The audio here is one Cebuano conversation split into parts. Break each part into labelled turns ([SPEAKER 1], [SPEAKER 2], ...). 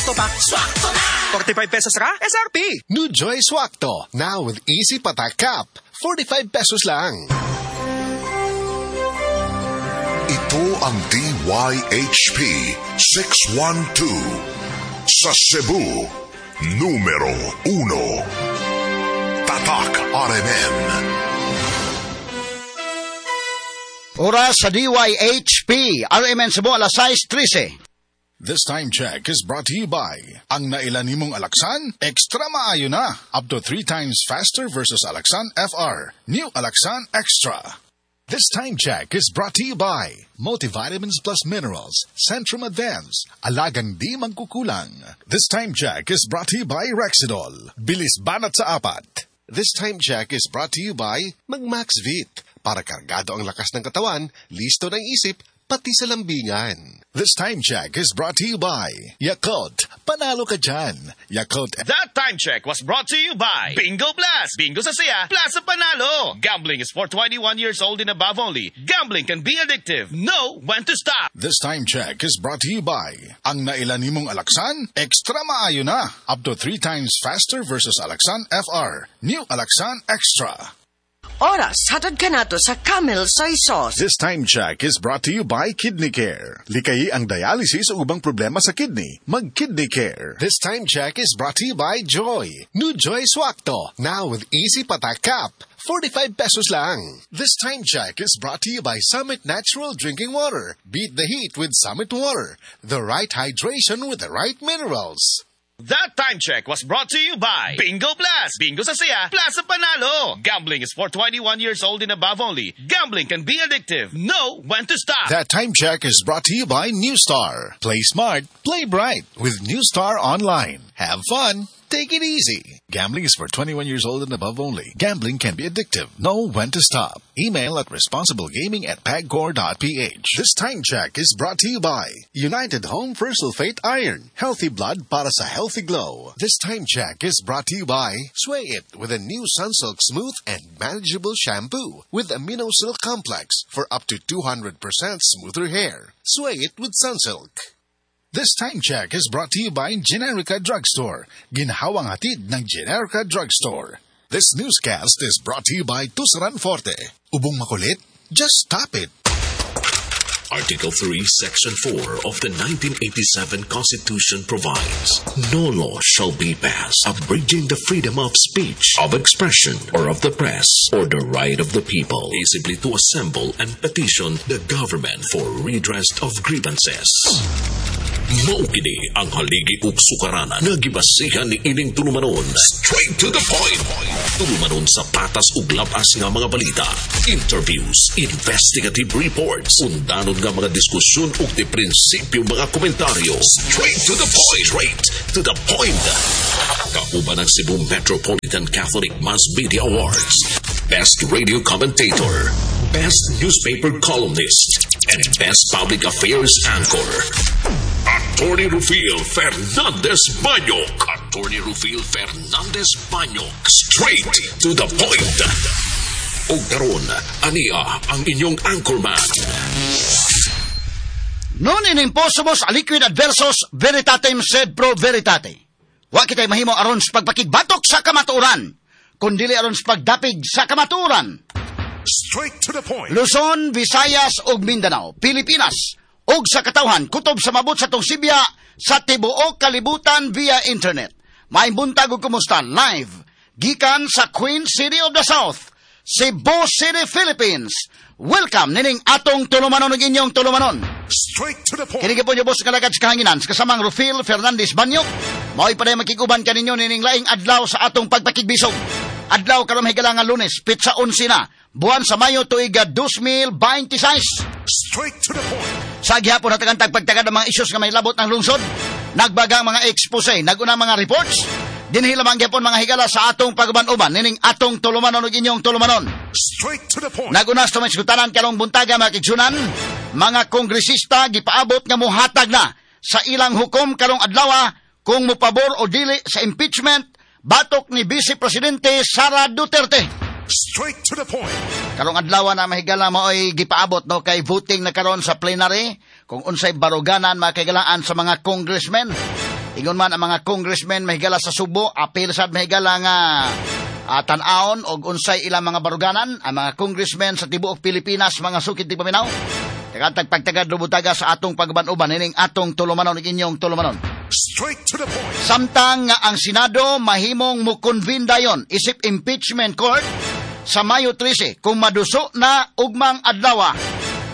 [SPEAKER 1] Swakto pa. Swakto na! 45 pesos ra? SRP!
[SPEAKER 2] New Joy Swakto, now with Easy Patak Cap. 45 pesos lang.
[SPEAKER 3] Ito ang DYHP 612 sa Cebu, numero 1. Tatak RMN.
[SPEAKER 4] Oras sa DYHP, RMN Cebu, alas 6:13.
[SPEAKER 5] This time check is brought to you by Ang nailan nimong Alaxan, extra maayo na. Up to 3 times faster versus Alaxan FR. New Alaxan Extra. This time check is brought to you by Multivitamins Plus Minerals, Centrum Advance, Alagang di mangkukulang. This time check is brought to you by Rexidol, Bilis banat sa apat.
[SPEAKER 2] This time check is brought to you by Magmaxvit. Para kargado ang lakas ng katawan, listo ng isip, pati sa lambingan.
[SPEAKER 5] This time check is brought to you by Yakult. Panalo ka dyan. Yakult.
[SPEAKER 6] That time check was brought to you by Bingo Blast. Bingo sa siya, plus sa panalo. Gambling is for 21 years old and above only. Gambling can be addictive. Know when to stop.
[SPEAKER 5] This time check is brought to you by Ang nailan nimong Alaxan, extra maayo na. Up to 3 times faster versus Alaxan FR. New Alaxan Extra.
[SPEAKER 7] Oras, hatod ka nato sa Camel Soy Sauce.
[SPEAKER 5] This time check is brought to you by Kidney Care. Likayi ang dialysis o ubang problema sa kidney. Mag-Kidney Care.
[SPEAKER 2] This time check is brought to you by Joy. New Joy Swakto, now with Easy Patak Cap. 45 pesos lang. This time check is brought to you by Summit Natural Drinking Water. Beat the heat with Summit Water. The right hydration with the right minerals.
[SPEAKER 6] That time check was brought to you by Bingo Blast. Bingo sa siya, plus sa panalo. Gambling is for 21 years old and above only. Gambling can be addictive. Know when to stop.
[SPEAKER 5] That time check is brought to you by New Star. Play smart, play bright with New Star Online. Have fun, take it easy. Gambling is for 21 years old and above only. Gambling can be addictive. Know when to stop. Email at responsiblegaming@pagcor.ph. This time check is brought to you by United Home Fersulfate Iron. Healthy blood para sa healthy glow.
[SPEAKER 2] This time check is brought to you by Sway It with a new Sunsilk Smooth and Manageable Shampoo with Amino Silk Complex for up to 200% smoother hair. Sway It with Sunsilk.
[SPEAKER 5] This time check is brought to you by Generica Drugstore. Ginhawang hatid ng Generica Drugstore. This newscast is brought to you by Tuseran Forte. Ubong makulit? Just stop it.
[SPEAKER 8] Article 3, Section 4 of the 1987 Constitution provides, no law shall be passed abridging the freedom of speech, of expression, or of the press, or the right of the people peaceably to assemble and petition the government for redress of grievances. Mao kini ang haligi ug sukaranan nga gibasihan ni ining tulumanon. Straight to the point. Tulumanon sa patas ug labas nga mga balita, interviews, investigative reports, undanon nga mga diskusyon ug di prinsipyo mga komentaryo. Straight to the point. Straight to the point. Kauban ang Cebu Metropolitan Catholic Mass Media Awards, Best Radio Commentator, Best Newspaper Columnist, and Best Public Affairs Anchor. Attorney Rufil Fernandez Banyok. Attorney Rufil Fernandez Banyok. Straight to the point. Og karon, ania ang inyong anchorman.
[SPEAKER 4] Non in imposumus aliquid adversus veritatem sed pro veritate. Wa kitay mahimo aron sa pagpakigbatok sa kamatuoran, kundili aron sa pagdapig sa kamatuoran.
[SPEAKER 3] Straight to the point.
[SPEAKER 4] Luzon, Visayas ug Mindanao, Pilipinas ug sa katawhan kutob sa mabot sa tong sibya sa tibuok kalibutan via internet. Maayong buntag ug kumusta live gikan sa Queen City of the South, Cebu City, Philippines. Welcome nining atong tulumanon ug inyong tulumanon.
[SPEAKER 3] Straight to the point.
[SPEAKER 4] Kini gyapon yung boss nga lagad sa kahanginan sa kasamang Rufil Fernandez Banyok. Mao'y paday makiguban kaninyo nining laing adlaw sa atong pagpakigbisog. Adlaw karon higala nga Lunes, petsa 11 na, buwan sa Mayo tuig 2026.
[SPEAKER 3] Straight to the point.
[SPEAKER 4] Sa gihapon hatagan tagpagtagad ang mga isyus nga may labot ng lungsod, nagbaga ang mga expose, naguna mga reports, dinhi lamang gihapon mga higala sa atong paguban-uban nining atong tulumanon ug inyong tulumanon.
[SPEAKER 3] Straight to the point.
[SPEAKER 4] Naguna sa tumay karong buntaga mga kigsunan, mga kongresista gipaabot nga muhatag na sa ilang hukom karong adlaw kung mopabor o dili sa impeachment batok ni Vice Presidente Sara Duterte.
[SPEAKER 3] Straight to the point.
[SPEAKER 4] Karong adlaw na mahigala maoy gipaabot no kay voting na karon sa plenary kung unsay baruganan mga kahigalaan sa mga congressmen. Ingon man ang mga congressmen mahigala sa Subo, apil sad mahigala nga tan-awon og unsay ilang mga baruganan ang mga congressmen sa tibuok Pilipinas, mga sukid tigpaminaw. Tagantag pagtagad rubutaga sa atong pagban-uban ining atong tulumanon ug inyong tulumanon.
[SPEAKER 3] Straight to the point.
[SPEAKER 4] Samtang nga ang Senado mahimong mo-convene dayon isip impeachment court sa Mayo 13 kung maduso na ugmang adlaw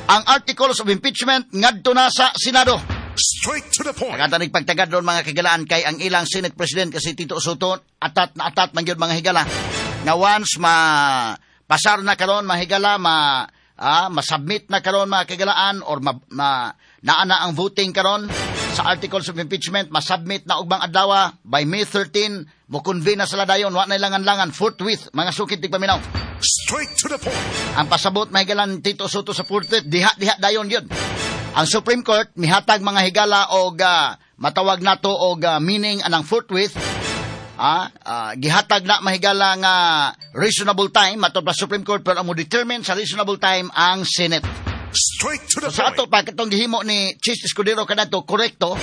[SPEAKER 4] ang articles of impeachment ngadto na sa Senado.
[SPEAKER 3] Straight to the point.
[SPEAKER 4] Pagkanta pagtagad doon mga kagalaan kay ang ilang Senate President kasi Tito Sotto atat na atat man gyud mga higala nga once ma pasar na karon mga higala ma-submit na karon mga kagalaan or naa na ang voting karon sa articles of impeachment, ma-submit na ugmang adlaw by May 13 mo convene na sila dayon, wa na ilangan-langan forthwith mga sukit tigpaminaw.
[SPEAKER 3] Straight to the point.
[SPEAKER 4] Ang pasabot mga higalan Tito Sotto sa forthwith diha dayon gyud. Ang Supreme Court mihatag mga higala og matawag nato og meaning anang forthwith. Gihatag na mahigala nga reasonable time matod pa Supreme Court, pero ang mo determine sa reasonable time ang Senate.
[SPEAKER 3] Straight to the
[SPEAKER 4] So, sa ato
[SPEAKER 3] point.
[SPEAKER 4] pa katong gihimo ni Chiz Escudero kanato korekto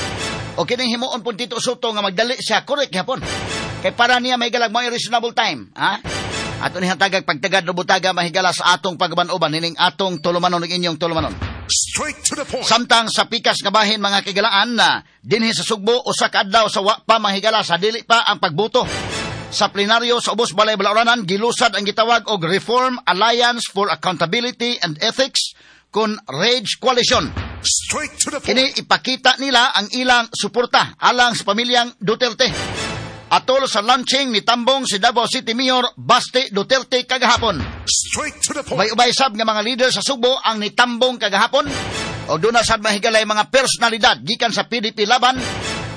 [SPEAKER 4] o kining himuon pud Tito Sotto nga magdali siya korek gyapon. Kay para niya mahigala mo reasonable time, ha? Ato ni hatagag pagtagad rubutaga mahigala sa atong pagban-uban nining atong tulumanon ug inyong tulumanon.
[SPEAKER 3] Straight to the point.
[SPEAKER 4] Samtang sa pikas nga bahin mga kigalaan na dinhi sa Sugbo usa ka adlaw sa wa pa mahigala sa dili pa ang pagbuto. Sa plenaryo sa Ubos Balay Balaoranan gilusad ang gitawag og Reform Alliance for Accountability and Ethics kon Rage Coalition.
[SPEAKER 3] Straight to the point.
[SPEAKER 4] Kini ipakita nila ang ilang suporta alang sa pamilyang Duterte. Atol sa launching ni Tambong si Davao City Mayor Basti Duterte kagahapon.
[SPEAKER 3] Straight to the point.
[SPEAKER 4] Ubay-ubay sab nga mga leader sa Sugbo ang nitambong kagahapon. O doon na sad mahigalay mga personalidad gikan sa PDP Laban.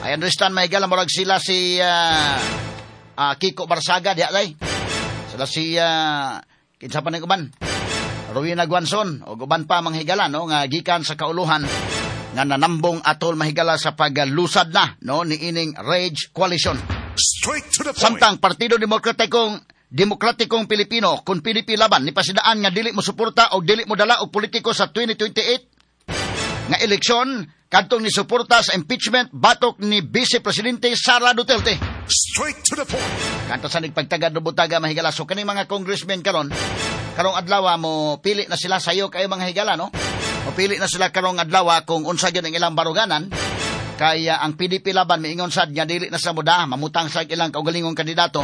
[SPEAKER 4] I understand mahigala murag sila si Kiko Barsaga diha lay. Sila si kinsa pa ning uban? Rowena Guanzon o uban pa mga higala no nga gikan sa kauluhan nga nanambong atol mahigala sa paglusad na no niining Rage Coalition.
[SPEAKER 3] Straight to the point.
[SPEAKER 4] Samtang Partido Demokratikong Pilipino kun PDP Laban ni pasidaan nga dili mo suporta o dili mo dala og politiko sa 2028 nga eleksyon kadtong ni suporta sa impeachment batok ni Vice Presidente Sara Duterte.
[SPEAKER 3] Straight to the point.
[SPEAKER 4] Kanto sa nagpagtagad rubutaga mahigala so kaning mga congressmen karon karong adlaw mo pili na sila sayo kayo mga higala no. Mo pili na sila karong adlaw kung unsa gyud ang ilang baruganan. Kaya ang PDP Laban miingon sad nga dili na sa muda mamutang sa ilang kaugalingong kandidato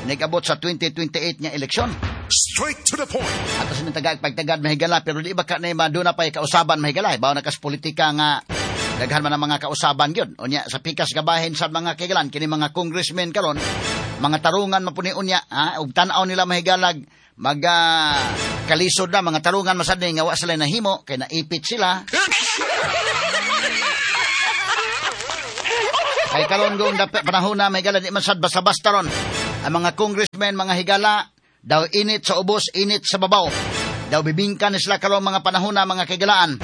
[SPEAKER 4] nigabot sa 2028 nga eleksyon.
[SPEAKER 3] Straight to the point.
[SPEAKER 4] Ato sa tagag pagtagad mahigala pero di ba ka na maduna pay kausaban mahigala bawo na kas politika nga daghan man ang mga kausaban gyud. Unya sa pikas gabahin sa mga kigalan kini mga congressmen karon mga tarungan mapuni unya ha ug tan-aw nila mahigalag mag kalisod na mga tarungan masad ni nga wa sila nahimo kay naipit sila. Kay karon gong panahon na mahigala di man sad basta-basta ron. Ang mga congressmen mga higala daw init sa ubos, init sa babaw. Daw bibingka ni sila karon mga panahon na mga kahigalaan.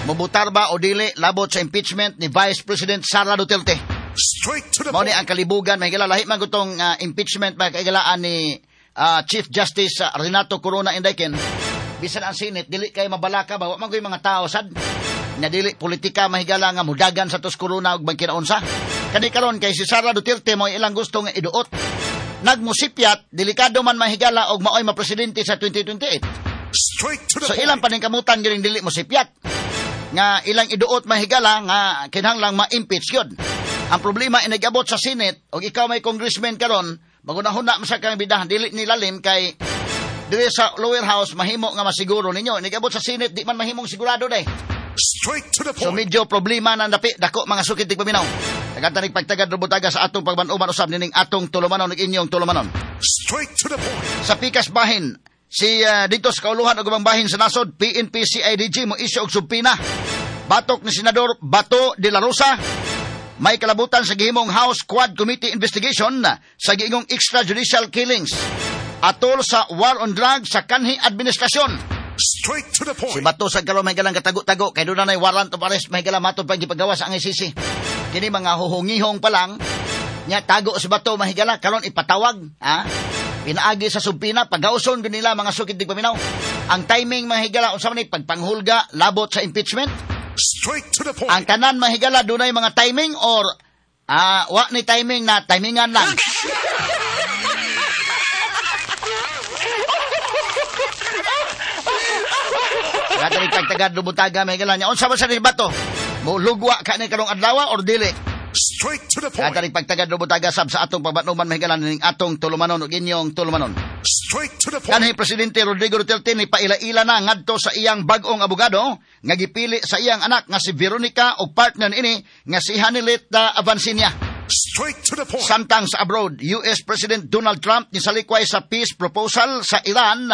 [SPEAKER 4] Mubutar ba o dili labot sa impeachment ni Vice President Sara Duterte.
[SPEAKER 3] Straight to the
[SPEAKER 4] Mao ni
[SPEAKER 3] point.
[SPEAKER 4] ang kalibugan mahigala lahi man gutong impeachment mga kahigalaan ni Chief Justice Renato Corona Indayken. Bisan ang Senate dili kay mabalaka ba wa man koy mga tao sad na dili politika mahigala nga mudagan sa tos Corona ug magkinaunsa. Kani karon kay si Sara Duterte mo ilang gusto nga iduot. Nagmusipyat delikado man mahigala og maoy mapresidente sa 2028.
[SPEAKER 3] Straight to the
[SPEAKER 4] So
[SPEAKER 3] point.
[SPEAKER 4] ilang paningkamutan gining dili mosipyat nga ilang iduot mahigala nga kinahanglang ma-impeach gyud. Ang problema inigabot sa Senate og ikaw may congressman karon magunahuna man sa kang bidahan dili nilalim kay diri sa lower house mahimo nga masiguro ninyo inigabot sa Senate di man mahimong sigurado day.
[SPEAKER 3] Straight to the
[SPEAKER 4] So
[SPEAKER 3] point.
[SPEAKER 4] medyo problema na napi dako mga sukit tigpaminaw. Tagantanig pagtagad rubutaga sa atong pagban-uban usab nining atong tulumanon ug inyong tulumanon.
[SPEAKER 3] Straight to the point.
[SPEAKER 4] Sa pikas bahin si dito sa kauluhan ug ubang bahin sa nasod PNP CIDG mo isyu og subpina. Batok ni Senador Bato de la Rosa may kalabutan sa gihimong House Quad Committee investigation sa giingong extrajudicial killings atol sa war on drugs sa kanhi administrasyon.
[SPEAKER 3] Straight to the
[SPEAKER 4] Si
[SPEAKER 3] point.
[SPEAKER 4] Bato sa karon may galang katago-tago kay doon na nay warrant of arrest may galang matod pa gipagawas ang ICC. Kini mga huhungihong pa lang nya tago si Bato mahigala karon ipatawag ha. Pinaagi sa subpina pagauson gyud nila mga sukid tigpaminaw. Ang timing mahigala unsa man ni pagpanghulga labot sa impeachment.
[SPEAKER 3] Straight to the point.
[SPEAKER 4] Ang tanan mahigala dunay mga timing or Ah, wa ni timing na timingan lang. Katarik pagtagad lubutaga may niya. Unsa ba sa bato? Mo lugwa ka ni karong adlaw or dili?
[SPEAKER 3] Straight to the point.
[SPEAKER 4] Katarik pagtagad lubutaga sab sa atong pabatnuman may ning atong tulumanon ug inyong tulumanon.
[SPEAKER 3] Straight to the point.
[SPEAKER 4] Kanhi Presidente Rodrigo Duterte ni paila-ila na ngadto sa iyang bag-ong abogado nga gipili sa iyang anak nga si Veronica ug partner niini nga si Hanilet Avancinia.
[SPEAKER 3] Straight to the point.
[SPEAKER 4] Samtang sa abroad, US President Donald Trump nisalikway sa peace proposal sa Iran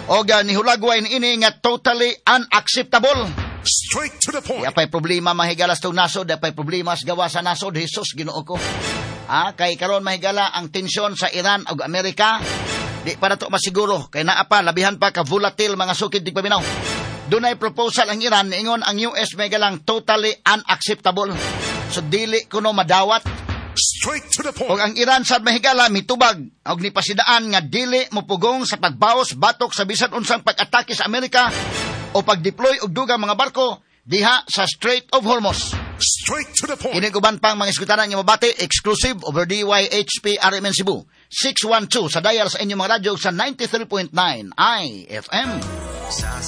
[SPEAKER 4] og nihulagway niini nga totally unacceptable.
[SPEAKER 3] Straight to the point.
[SPEAKER 4] Di pa'y problema mahigalas tong nasod, di pa'y problema sa gawa sa nasod, Jesus Ginoo ko. Ah, kay karon mahigala ang tensyon sa Iran ug Amerika. Di pa nato masiguro kay naa pa labihan pa ka volatile mga sukid di paminaw. Dunay proposal ang Iran niingon ang US mahigalang totally unacceptable. So dili kuno madawat.
[SPEAKER 3] Straight to the point.
[SPEAKER 4] Og ang Iran sad mahigala mitubag og nipasidaan nga dili mopugong sa pagbaos batok sa bisan unsang pag-atake sa Amerika o pag-deploy og dugang mga barko diha sa Strait of Hormuz.
[SPEAKER 3] Straight to the point.
[SPEAKER 4] Kini uban pang mga iskutanan nga mabati exclusive over DYHP RMN Cebu 612 sa dial sa inyong mga radyo sa 93.9 IFM.